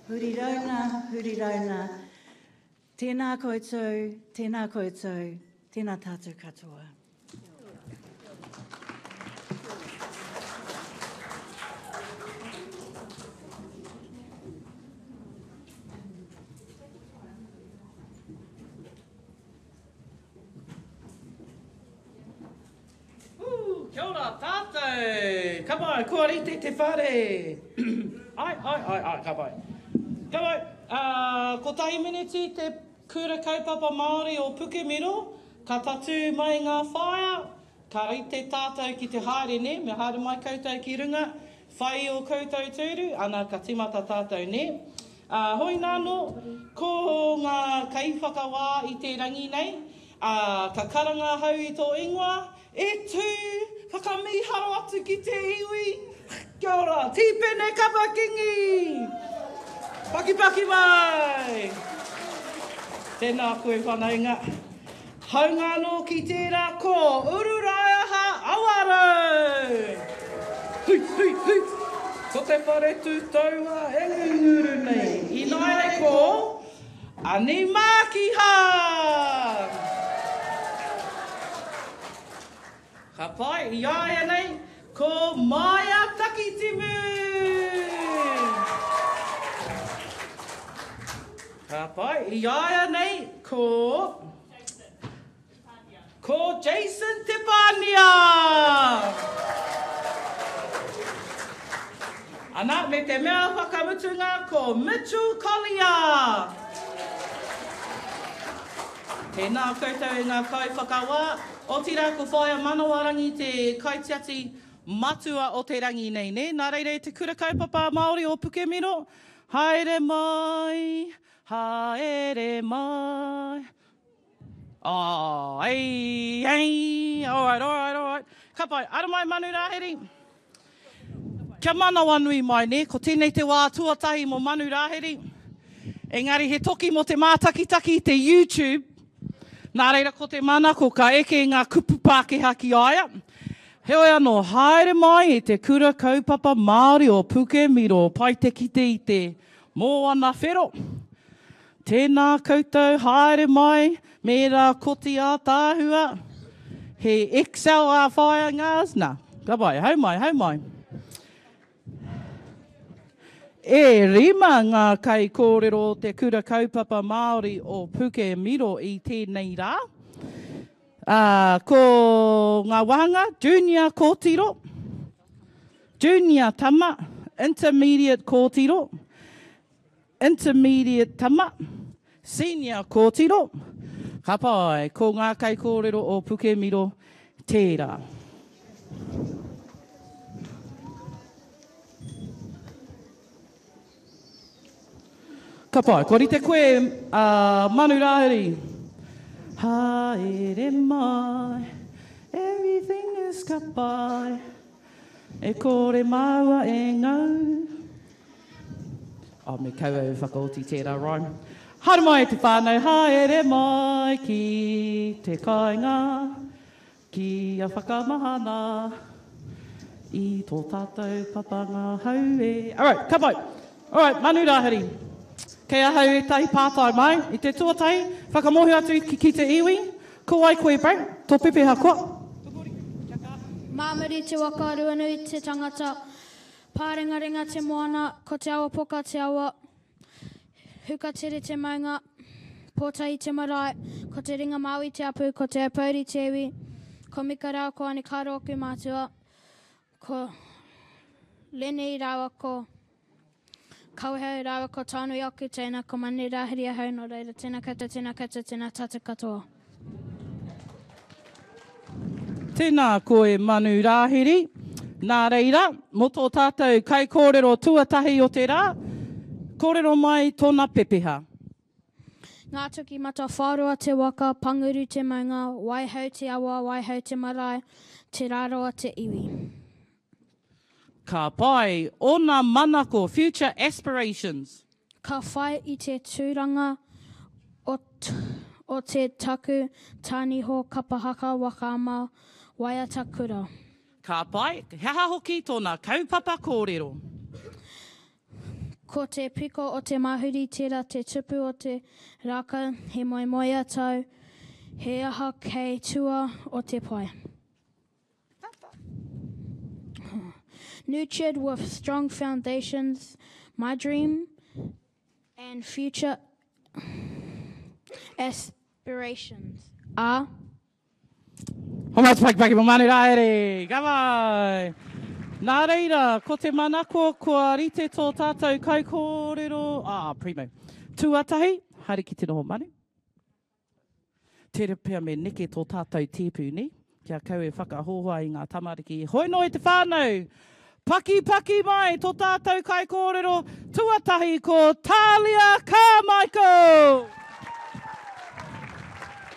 Huri rauna, huri rauna. Tēnā koutou, tēnā koutou, tēnā tātou katoa. Kia ora tātou! Ka pai, kua rite te whare! Ai, ai, ai, ai, ka pai. Ka pai, uh, kotahi miniti te kura kaupapa Māori o Pukemiro, ka tatū mai ngā whaea, ka rite tātou ki te haere, nē, me haere mai koutou ki runga, whai i ō koutou tūru, ana ka timata tātou, nē. Ā, hoinānō, ko ngā kaiwhakawā i te rangi nei, ā, ka karanga ahau i tō ingoa, e tū, whakamīharo atu ki te iwi. Kia ora, Tīpene Kapa Kingi! Pakipaki mai! Tēnā koe whanaunga. Haunga anō ki tērā ko Ururaeaha Awarau! Hui, hui, hui! Ko te whare tū taua e ngunguru nei. Ināianei ko Ani Mākiha! Ka pai, i a ia nei ko Maia Takitimu! Ka pai, i a ia nei ko Ko Jason Te Pānia! Ana, me te mea whakamutunga ko Mitchell Collier! Tēnā koutou e ngā kaiwhakawā, otirā ko Whaea Manawarangi te kaitiaki matua o te rangi nei, nē? Nā reira e te Kura Kaupapa Māori o Pukemiro, haere mai, haere mai. Oh, ei, ei, all right, all right, all right. Ka pai, ara mai Manu Rāhiri. Kia manawanui mai, nē, ko tēnei te wā tuatahi mō Manu Rāhiri. Engari he toki mō te mātakitaki i te YouTube. Nā reira ko te manako ka eke ngā kupu Pākehā ki a ia. Heoi anō, haere mai e te Kura Kaupapa Māori o Pukemiro, pai te kite i te mōana whero. Tēnā koutou, haere mai me ērā koti ātaahua. He Excel ā whaea ngās, nā, ka pai, hau mai, hau mai. E rima ngā kaikōrero o te Kura Kaupapa Māori o Pukemiro i tēnei rā. Ā, ko ngā wāhanga, junior kōtiro, junior tama, intermediate kōtiro, Intermediate tama, Senior kōtiro, ka pai, ko ngā kaikōrero o Pukemiro tērā. Ka pai, kua rite koe a Manu Rāhiri. Haere mai, everything is ka pai, e kore māua e ngau. Oh, me kaua e whakaoti tērā rhyme. Haere mai e te whānau, haere mai ki te kāinga, ki a whakamahana i tō tātou papanga hau e. Alright, ka pai. Alright, Manu Rāhiri. Kei ahau ētahi pātai mai. I te tuatahi, whakamōhio atu ki, ki te iwi, ko wai koe, bro? Tō pepeha koa? Māmuri te waka, Ruanui te tangata, Pārengarenga te moana, ko Te Awapoka te awa, Hukatere te maunga, Pōtahi te marae, ko Te Ringa Māui te apu, ko Te Aupōuri te iwi, ko Mika rāua ko Anekaro oku mātua, ko Lenny rāua ko Kawehau rāua ko Taonui oku teina, ko Manu Rāhiri ahau, nō reira tēnā koutou, tēnā koutou, tēnā tātou katoa. Tēnā koe Manu Rāhiri. Nā reira, mō tō tātou kaikōrero tuatahi o te rā, kōrero mai tōna pepeha. Ngā Tuki Matawhāroa te waka, Panguru te maunga, Waihau te awa, Waihau te marae, Te Rarawa te iwi. Ka pai ōna manako, future aspirations. Ka whai i te tūranga o o te taku tāniho kapa haka waka ama waiata kura. Ka pai, he aha hoki tōna kaupapa kōrero? Ko. Ko te piko o te mahuri tērā te tupu o te rākau, he moemoeā tau, he aha kei tua o te pae. Nurtured with strong foundations, my dream and future aspirations are. Homai te pakipaki mo Manu Raere! Ka pai! Nā reira, ko te manako kua rite tō tātou kaikōrero, ah, primo. Tuatahi, haere ki te noho manu. Tērā pea me neke tō tātou tēpu, nē? Kia kau e whakahoahoa i ngā tamariki. Hoi noa e te whānau! Pakipaki mai tō tātou kaikōrero tuatahi ko Talia Carmichael!